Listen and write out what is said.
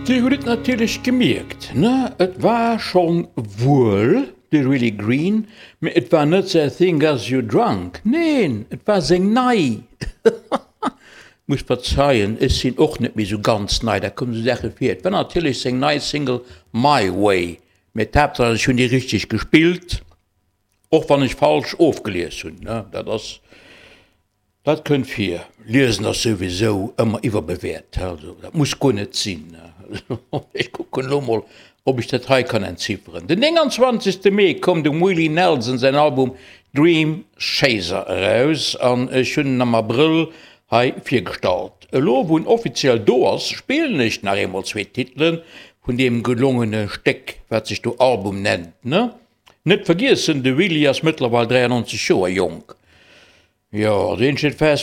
Dir hutt et natierlech gemierkt, ne? Et war schonn wuel de Willie Green, mee et war net säi Thing Got You Drunk, neen, et war seng nei. Musst verzeien, ech sinn och net méi sou ganz nei, da kommen sou Saache vir. Et war natierlech seng nei Single My Way, mee d'Haaptsaach ech hunn déi richteg gespillt, och wann ech falsch ofgelies hunn, ne, dat ass. Dat kënnt vir. Liesen ass souwisou ëmmer iwwerbewäert, also dat muss guer net sinn. Ech kucken elo mol, ob ech dat hei kann entzifferen. Den 29. Mee koum dem Willie Nelson säin Album Dream Chaser eraus an ech hunn en am Abrëll hei virgestallt. Elo wou en offiziell do ass, spillen ech nach eemol zwee Titele vun deem gelongene Stéck, wat sech do Album nennt, ne? Net vergiessen, de Willie ass mëttlerweil 93 Joer jonk. Jo, also een steet fest.